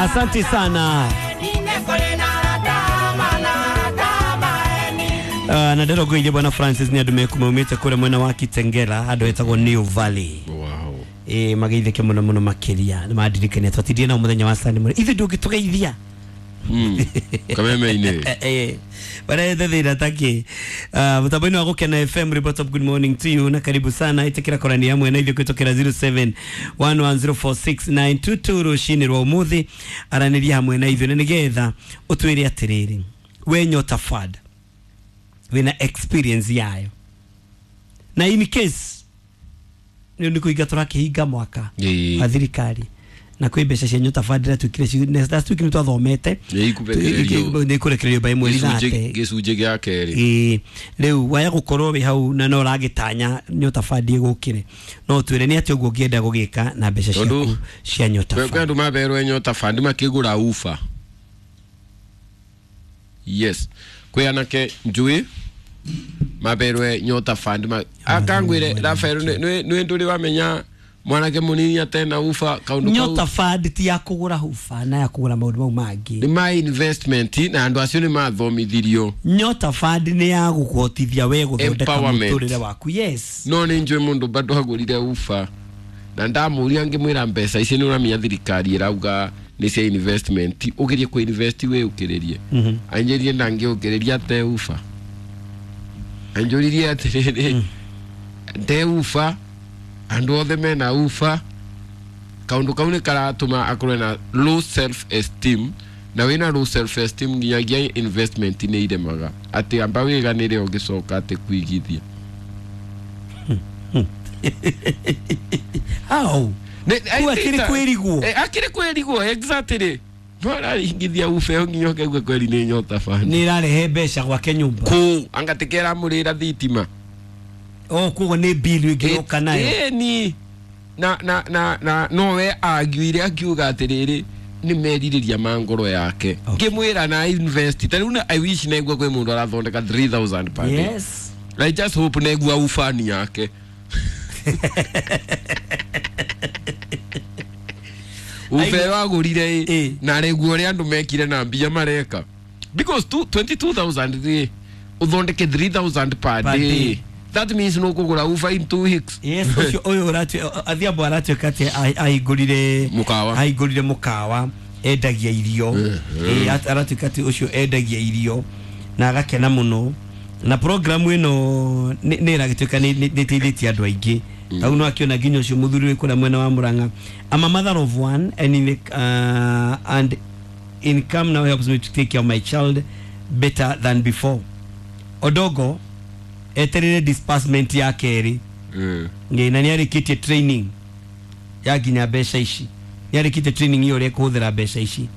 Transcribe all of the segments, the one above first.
Asante sana. Na ndĩrongoirie bwana Francis nĩ andũ mekumaumĩte kũrĩa mwena wa Kitengela handũ hetagwo New Valley. Wow. Mageithĩke mũno mũno makĩria nĩ mandirikania twatindire nao mũthenya wa Sunday mũno ithuĩ ndũngĩtũgeithia. Kameme-inĩ. Barete thĩna takĩ. Mũtambo-inĩ wa Gũkena FM, report of good morning to you na karibu sana ĩtĩkĩra kũrania hamwe na ithuĩ kũhĩtũkĩra 0711046922 rũcinĩ rwa ũmũthĩ aranĩria hamwe na ithuĩ na nĩgetha ũtwĩre atĩrĩrĩ we Nyota Fund wĩna experience yayo na in case nĩ kũhinga tũrakĩhinga mwaka wa thirikari na kwĩ mbeca cia Nyota Fund iratuĩkire last week nĩ twathomete nĩ ikũrekererio by mweri 30 gĩcunjĩ gĩa kerĩ. Rĩu waya gũkorwo wĩ hau na no ũragĩtanya Nyota Fund ĩgũkĩre no twĩre nĩ atĩ ũguo ũngĩenda gũgĩka na mbeca ciaku cia Nyota Fund. Kwĩ andũ maberwo Nyota Fund makĩgũra ufa. Yes, kwĩ anake njui maberwe Nyota Fund akangwire Rafael nĩ ndũrĩ wamenya mwanake munini atena ufa kaundu kau. Nyota Fund ti ya kugura ufa na ya kugura maundu mau mangi ni ma investment na andu acio ni mathomithirio. Nyota Fund ni ya gukuhotithia we guthondeka muturire waku. Yes, no ni njui mundu bado agurire ufa na ndamuria ngimwira mbeca ici ni uramenya thirikari irauga ni cia investment ugirie ku invest we ukiririe. Anjĩrie na ngiukiriria te ufa anjũririe atiriri te ufa andu othe mena ufa kaundu kau ni karatuma akorwe na low self esteem na wina low self esteem nginyagia investment ni iremaga ati amba wiganire ungicoka ati kuigithia. How akiri kwirigwo akiri kwirigwo exactly no araringithia ufe nginya ukaigua kweri ni Nyota Fund ni irarehe mbeca gwake nyumba ku angatikera murira thitima. Oh, koguo ni bill ĩngĩũka nayo. Ni na na na na no we agiuire akiuga atiriri ni merirĩria ma ngoro yake ngĩmwĩra na invest ta rĩu I wish naigua kwĩ mũndũ arathondeka 3000 per day. Yes, I just hope naigua ufani yake. Ufe wagũrire na rĩguo ũrĩa andũ mekire na mbia mareka because 22,000 uthondeke 3000 per day. That means no kugura ufa in 2 weeks. Yes, ucio uyu uratu Adhiambo aratuĩka atĩ ahingũrire mukawa. Ahingũrire mukawa endagia irio. Aratuĩka atĩ ucio endagia irio na agakena mũno na program ĩno nĩ ĩragĩtuĩka nĩ ĩteithĩtie andũ aingĩ. Tau no akiona nginya ucio mũthuri wĩ kũrĩa mwena wa Murang'a. I'm a mother of one and in, and income now helps me to take care of my child better than before. Odogo eterere disbursement ya kerĩ. Na nĩarĩkĩtie training ya nginya mbeca ici nĩarĩkĩtie training iyo ũrĩa kũhũthĩra mbeca ici.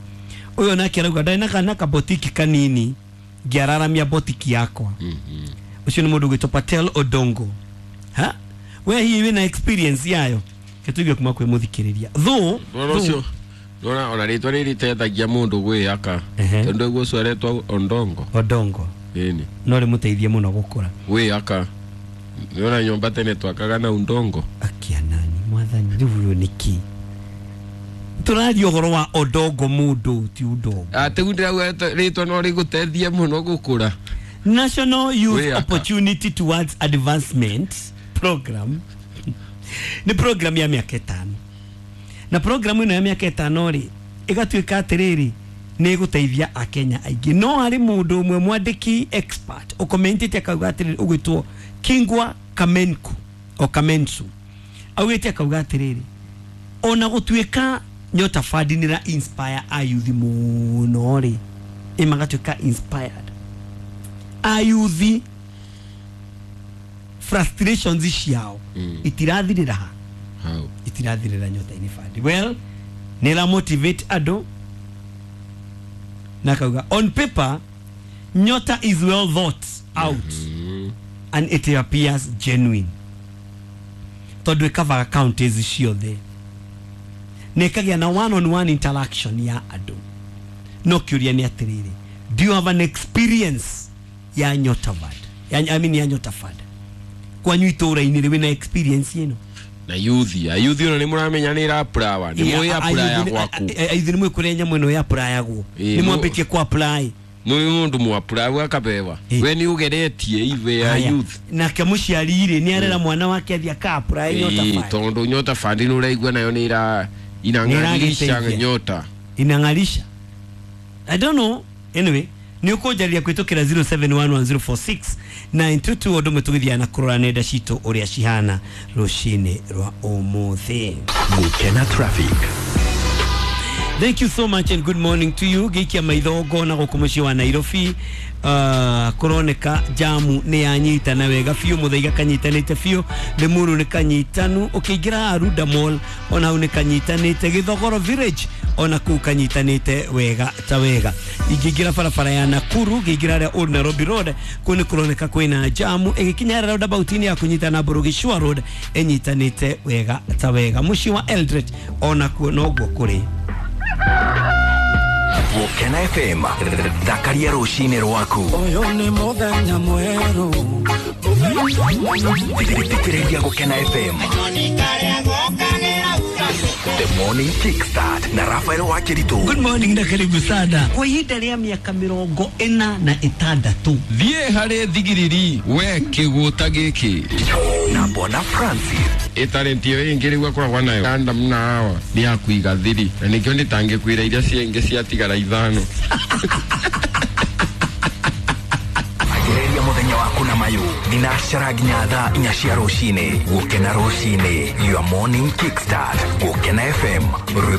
Ũyũ nake arauga ndarĩ na kana kabotiki kanini ngĩararamia botiki yakwa. Ũcio nĩ mũndũ ũgwĩtwo Patel Odongo. Ha we hihi wĩna experience yayo gĩtũigue kuma kwĩ mũthikĩrĩria though ũcio nona ona rĩtwa rĩrĩ rĩtethagia mũndũ gwĩaka tondũ ũguo ũcio aretwo Ondongo. Odongo ĩni no rĩmũteithie mũno gũkũra gwĩaka nĩona nyũmba tene twakaga na undongo. Akianani mwathani rĩu ũyũ nĩkĩ tũraria ũhoro wa Odongo mũndũ ti Udongo. Atĩ ndĩrauga rĩtwa no rĩgũteithie mũno gũkũra. National Youth Opportunity Towards Advancement Program nĩ program ya mĩaka 5 na program ĩno ya mĩaka 5 rĩ ĩgatuĩka atĩrĩrĩ nĩ ĩgũteithia akenya aingĩ. No harĩ mũndũ ũmwe mwandĩki expert ũkomentĩte akauga atĩrĩrĩ ũgwĩtwo Kingwa Kamenku o Kamensu augĩte akauga atĩrĩrĩ ona gũtuĩka Nyota Fund nĩ ra inspire ayuthi mũno rĩ ĩmagatuĩka inspired ayuthi frustrations ciao itirathirĩra ha itirathirĩra Nyota-inĩ Fund. Well, nĩ ra motivate andũ na kauga on paper Nyota is well thought out and it appears genuine tondũ ĩkavaga counties ciothe na ĩkagĩa na one on one interaction ya andũ. No kĩũria nĩ atĩrĩrĩ, do you have an experience ya Nyota Fund? Ya, I mean ya Nyota Fund kwanyu itũra-inĩ rĩ wĩna experience ĩno? Na yuthi ayuthi ona nĩ mũramenya nĩ ĩrapurawa nĩ mũĩ apuraya gwaku. Ayuthi nĩ mũĩ kũrĩa nyamũ ĩno yapurayagwo. Ĩĩ, nĩ mwambĩtie ku apply. Nĩ mũndũ mwapurawu akabewa. Ĩĩ. We nĩ ũgeretie ive ya Haya. youth. Nake mũciari rĩ nĩ arera mwana wake athiĩ aka apply Nyota Ĩĩ, Fund. tondũ Nyota Fund nĩ ũraigua nayo nĩ ira inang'arisha Nĩĩragĩteithia. nyota. Inang'arisha, I don't know. Anyway, nĩ ũkũnjarĩria kũhĩtũkĩra 0711046922 ũndũ ũmwe tũgĩthiaga na kũrora nenda citũ ũrĩa cihana rũcinĩ rwa ũmũthĩ. Gukena traffic. Thank you so much and good morning to you. Gĩikia maitho ngona gũkũ mũciĩ wa Nairobi, kũroneka jamu nĩ yanyitana wega biũ, Mũthaiga kanyitanĩte biũ, Limuru nĩ kanyitanu, ũkĩingĩra Arunda Mall ona hau nĩ kanyitanĩte, Gĩthogoro Village ona kũu kanyitanĩte wega ta wega. Ingĩingĩra barabara ya Nakuru ngĩingĩra harĩa Old Nairobi Road, kũu nĩ kũroneka kwĩna jamu ĩgĩkinya harĩa roundabout-inĩ ya kũnyitana Burugishua Road ĩnyitanĩte wega ta wega. Mũciĩ wa Eldoret ona kuo noguo kũrĩ. Gukena FM thakaria rũcinĩ rwaku. Ũyũ nĩ mũthenya mwerũ. Thikĩrĩria Gukena FM The Morning Kickstart na Rafael Wakiritu. Good morning na karibu sana. Kwa ihinda rĩa mĩaka 46. Thiĩ harĩ thigiriri we kĩgũta gĩkĩ. Na Bwana Francis. Ĩtalenti ĩyo ĩngĩ rĩu akoragwo nayo Adam na Hawa nĩ ya kũiga thiri na nĩkĩo ndĩtangĩkwĩra iria ciengĩ ciatigara ithano. Anjĩrĩria mũthenya waku na mayũ thinacara nginya thaa 4 cia rũcinĩ. Gukena rũcinĩ, your morning kickstart. Gukena FM, rwĩmbo.